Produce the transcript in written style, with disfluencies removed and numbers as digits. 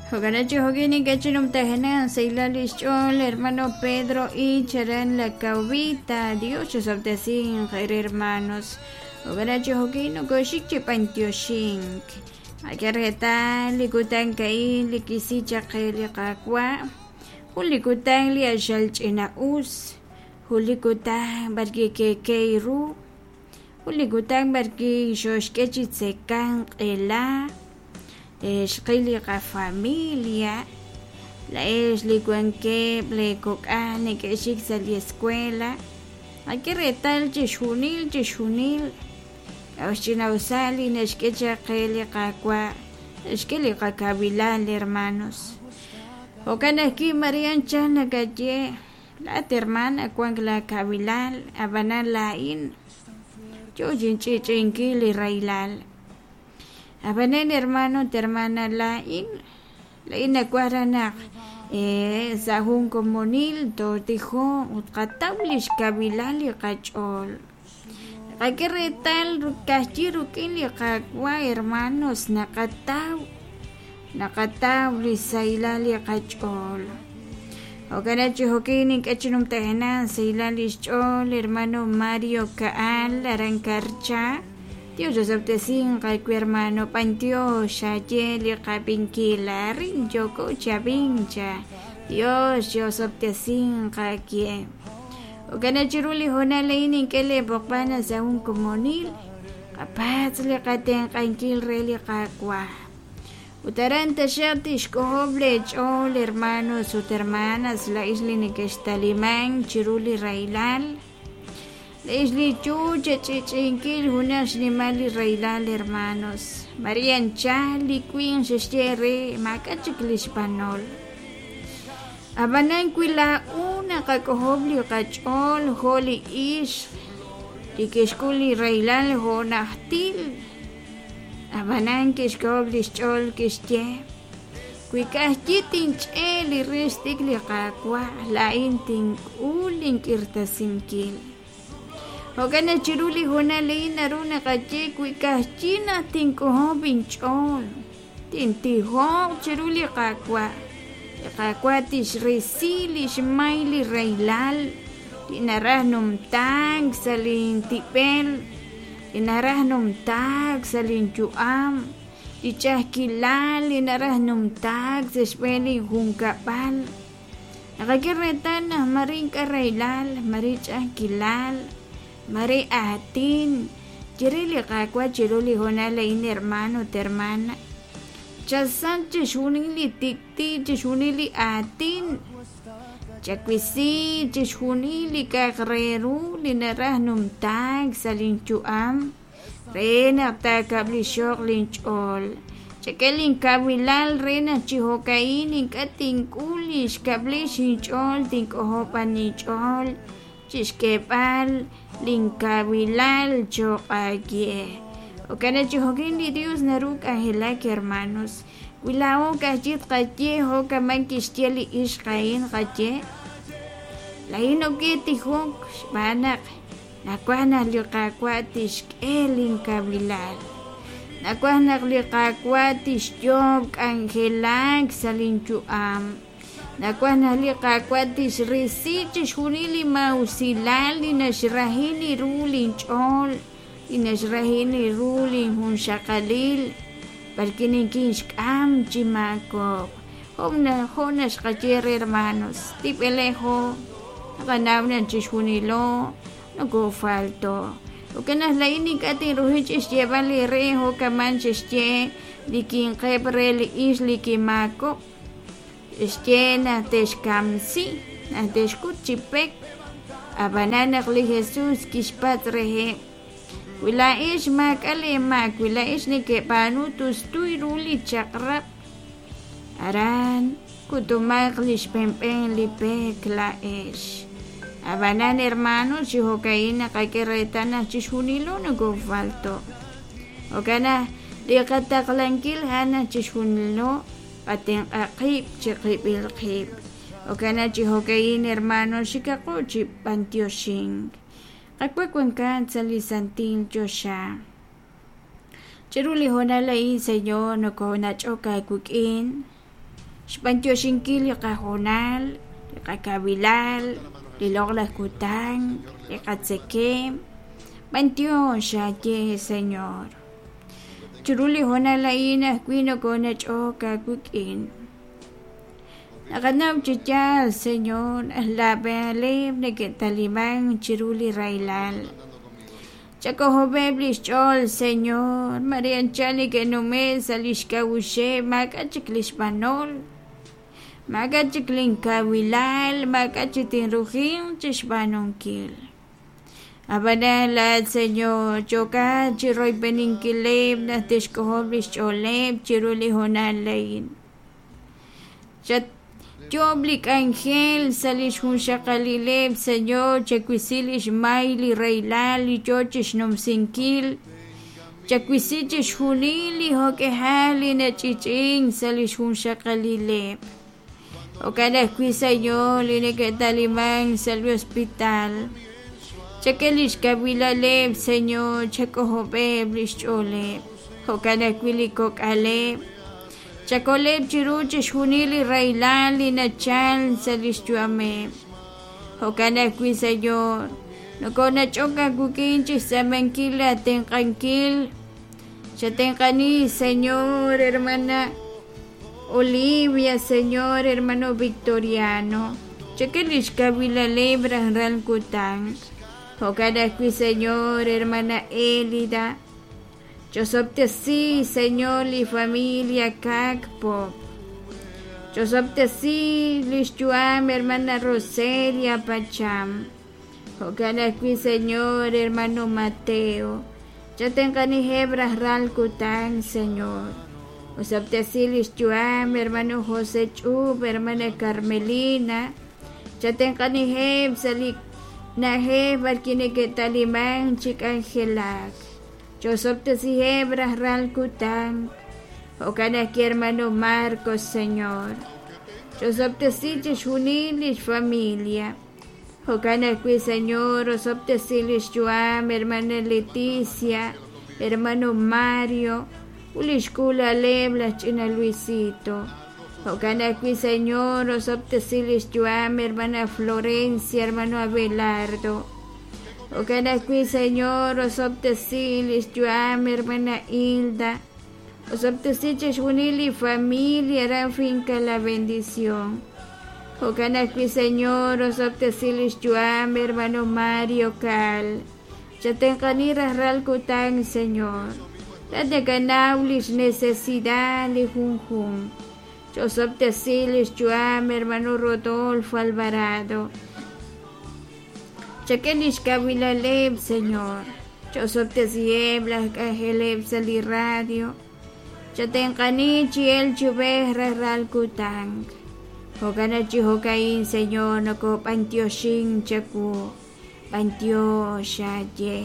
Jo'kan chi jo'kin ink'a' chi numtajenaq sahilal lix ch'ool hermano Pedro Ich aran La Caobita. Dios chisob'tesinq eere hermanos. Jo'kan chi jo'kin nokoxik chi b'antioxink. Qak'e reetal li kutan a'in li kisi chaq qe li Qaawa'. Jun li kutan li axal ch'ina-us. Jun li kutan b'arwi' keekey ru. Jun li kutan b'arwi' xooxk'e chi tzekank q'ela. Xqil li qafamilia. Laa'ex li wankeb' lee kok'al neke'xik sa' li escuela. Qak'e reetal chixjunil chixjunil. K'a'ut xch'ina'usal li naxk'e chaq qe li Qaawa', naxk'e li qakawilal, hermanos. Jo'kan ajwi' María anchal nakaye, Laa'at hermana wank laakawilal, ab'anan laa'in yo chinch'i'ch'i'inkil li rahilal. Ab'anan hermano ut hermana, laa'in laa'in nawaj raj naq sa' jun komonil tootijoq ut tqataw li xkawilal li qach'ool. Naqak'e reetal ka'ajwi' rik'in li Qaawa' hermanos naqataw naqataw li sahilal li qach'ool. Jo'kan chi jo'kin nink'e chi numtajenaq sahilal li xch'ool hermano Mario Ka'al aran Karcha. Dios osob'tesinq aawe hermano, b'antiox xaye li qab'inkil arin yooko chi ab'ink cha. Dios chi'osob'tesinq aawe. Jo'kan naq chiru li hoonal a'in nink'e lee b'oqb'al naq sa' jun komonil qapatz' li qatenq'ankil re li Qaawa'. Ut aran taxaq tixk'ojob' lee ch'ool, hermanos ut hermanas, laa'ex li nekextalimank chiru li rahilal, laa'ex li yoo chech'i'ch'i'inkil junaq xnimal li rahilal, hermanos. Maria anchal li winq xe'xye eere maak'a' chik lix b'anol. Ab'anan wi laa'o naqak'ojob' li qach'ool jo' li ixq li kixk'ul li rahilal jo' najtil, ab'anan kixk'ojob' li xch'ool kixye, Wi ka'ajwi' tinch'e' li rix tik li Qaawa', laa'in tink'ul link'irtasinkil. Jo'kan naq chiru li hoonal a'in naru naqaye, Wi ka'ajwi' naq tink'ojob' inch'ool, Tintijoq chiru li Qaawa'. Li Qaawa' tixrisi li xmay li rahilal li naraj numtaak sa' lintib'el, li naraj numtaak sa' linyu'am, li ch'a'ajkilal li naraj numtaak sa' xb'een linjunkab'al. Naqak'e reetal naq mare ink'a' rahilal, mare ch'a'ajkilal, Mare aatin, ye re li Qaawa' chiru li hoonal a'in hermano ut hermana, chasach chixjunil li tik'ti', chixjunil li aatin, chawisi chixjunil li k'a'aq re ru li naraj numtaak sa' lin yu'am re naq taakab'lixo'q lin ch'ool. Chak'e lin kawilal re naq chi jo'ka'in ink'a' tink'ul li xkab'lix inch'ool, tink'ojob' b'an inch'ool chixk'eeb'al linkawilal cho'q aawe. Jo'kan naq chi jo'kin li Yos naru k'anjelak hermanos. Wi laa'o ka'ajwi' tqaye jo' kaman kixye li ixq a'in qaye, Laa'in ok tijok xb'aan naq nawaj naq li Qaawa' tixk'e linkawilal. Nawaj naq li Qaawa' tixyoob' k'anjelak sa' linyu'am. Nawaj naq li Qaawa' tixrisi chixjunil li maa'usilal li naxrahi li ru linch'ool, li naxrahi li ru linjunxaqalil, b'arwi' nikinxk'am chi maakob'k. Jo' naxqaye re hermanos, tib'elejo, naqanaw naq chixjunilo nokofalto. Jo'kan naq laa'in ink'a' tinruhi chi xyeeb'al eere jo' kaman xe'xye li winqeb' re li ixq li kimaakob'k. Xye naq te'xkamsi, naq te'xkut chi pek. Ab'anan naq li Jesús kixpatz' reheb', Wi laa'ex maak'a' leemaak, wi laa'ex nekeb'aanu tustu ru li chaq'rab', aran kutumaq li xb'enb'en li pek laa'ex. Ab'anan hermano, chi jo'ka'in naqak'e reetal naq chixjunilo nokofalto'. Jo'kan naq li qataqlankil a'an naq chixjunilo Qatenq'a qib' chiqib'il qib'. Jo'kan naq chi jo'ka'in hermano xikaqo chi b'antioxink. Qawa' wankat sa' li santil choxa. Chiru li hoonal a'in, Señor, nokonach'ok aawik'in. Xb'antioxinkil li qahoonal, li qakawilal, li loq'laj kutan, li qatzekemq. B'antiox aaye, Señor. Chiru li hoonal a'in ajwi' nokonach'ok aawik'in. Naqanaw chi yaal, Señor, naq naab'aleb' neke'taliman chiru li rahilal. Chak'ojob'eb' lix ch'ool, Señor, mare anchal neke'nume' sa' lix k'a'uxeb' maak'a' chik lix b'anol, maak'a' chik lin kawilal, maak'a' chik tinrujinq chixb'aanunkil. Ab'anan laa'at, Señor, yookat chiroyb'eninkileb' naq te'xk'ojob' lix ch'ooleb' chiru li hoonal a'in. Chatyo'ob' li k'anjel sa' lix junxaqalileb', Señor, chawisi lix may li rahilal li yoo chixnumsinkil, chawisi chixjunil li jo'k'ihal li nach'ich'ink sa' lix junxaqalileb'. Jo'kan ajwi', Señor, li neke'talimank sa' li hospital. Chak'e lix kawilaleb', Señor, chak'ojob'eb' lix ch'ooleb'. Jo'kan ajwi' li kok'aleb'. Chakoleb' chiru chixjunil li rahilal li nachal sa' lix yu'ameb'. Jo'kan ajwi', Señor, nokonach'ok aawik'in chixtz'aamankil aatenq'ankil. Chatenq'ani, Señor, hermana Olivia, Señor, hermano Victoriano. Chak'e lix kawilaleb' rajlal kutan. Jo'kan ajwi', Señor, hermana Elida. Ch'osob'tesi, Señor, li familia Kak Pop. Ch'osob'tesi lix yu'am hermana Roselia Pacham. Jo'kan ajwi', Señor, hermano Mateo. Chatenq'aniheb' rajlal kutan, Señor. Osob'tesi lix yu'am hermano José Ch'ub, hermana Carmelina. Chatenq'aniheb' sa' li na'ajej b'arwi' neke'taliman chi k'anjelak. Ch'osob'tesiheb' rajlal kutan. Jo'kan ajwi' hermano Marcos, Señor. Ch'osob'tesi chixjunil lix familia. Jo'kan ajwi', Señor, osob'tesi lix yu'am hermana Leticia, hermano Mario, ut lix k'uula'aleb' laj ch'ina Luisito. Jo'kan ajwi', Señor, osob'tesi lix yu'am hermana Florencia, hermano Abelardo. Jo'kan ajwi', Señor, osob'tesi lix yu'am hermana Hilda. Osob'tesi chixjunil li familia aran Finca La Bendición. Jo'kan ajwi', Señor, osob'tesi lix yu'am hermano Mario Cal. Chatenq'ani rajlal kutan, Señor. Laa'at nakanaw lix necesidad li junjunq. Ch'osob'tesi lix yu'am hermano Rodolfo Alvarado. Chak'e lix kawilaleb', Señor. Ch'osob'tesiheb' laj k'anjeleb' sa' li radio. Chatenq'ani chi elk chi ub'ej rajlal kutan. Jo'kan naq chi jo'ka'in, Señor, nokob'antioxin chawu. B'antiox aaye.